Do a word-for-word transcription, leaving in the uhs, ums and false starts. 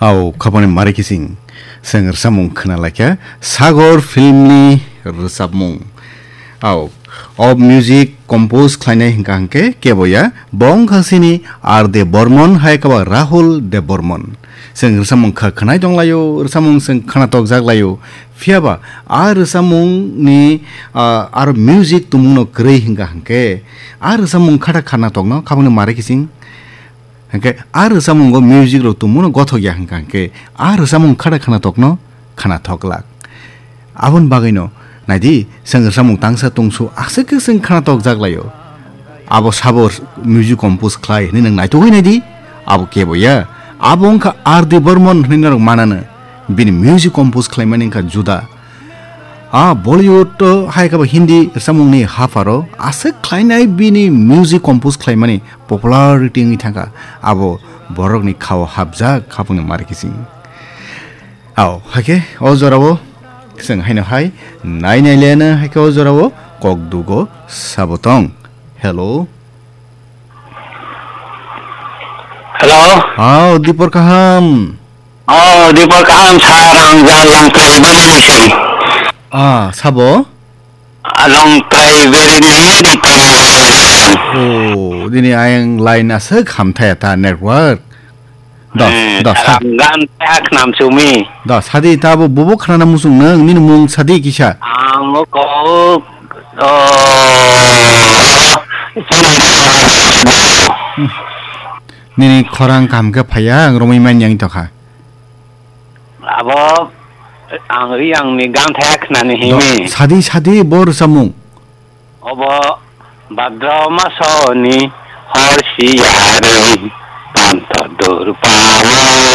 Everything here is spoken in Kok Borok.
Au, khapani mari kising. Seng rwchapmung khna laikha Sagor filmni rwchapmung. Au, o music compose khlainai hwnkha hwnkhe keboya, bo wngkha sini R D Bormon hai kaba Rahul Debbarman. Seng rwchapmung kha khwnai tonglaio, rwchapmung seng khna tokjak laio. Phiyaba a rwchapmungni, ah, aro music tongmungno kwrwi hwnkha hwnkhe, a rwchapmung khathak khna tokno khapani mari kising. Hwnkhe a rwchapmungo music rok tongmano gothok ya hwnkha hwnkhe a rwchapmung khada khana tokno khana thok glak. Aboni bagwino naidi, chwng rwchapmung tangsa tongsu aswk khe chwng khana tokjak laio. Abo sabo music compose khlai hwnwi nwng naitugwi naidi, abo kebo ya. Abo wngkha R D Burman hwnwi norok manano. Bini music compose khlaimani wngkha juda. A Bollywood o hai khe bo Hindi rwchapmungni hapharo aswk khlainai bini music compose khlaimani popularity wngwi thangkha, abo borokni khao hapjak khapungni mari kising. Ao, hai khe o jorao chwng haino hai nai nai leno hai khe o jorao kok dugo sabo tong. Hello. Hello. Ao, Dipor kaham. Oh, Dipor kaham sir, ang Jal Longtrai Bereni. Ah, sabo? Ah, Longtrai Bereni, Dipor. Oh, dini ayang line aswk hamthaya ta network. Do, Eh, do, sir, sa. Ang gan tak nam sumi. Do, sadi ta bo, bobo khnana musung nang, nini mung sadi kisa. Ang o kok, oh, Nini khorang kaham khe phaiya, ang romwi man yang tokha. Abo ang ri ang ni gan thaya khnani himi. Sadi, sadi, bo rwchapmung. Obo Bhadra masoni hor siyarwi panto durpawo.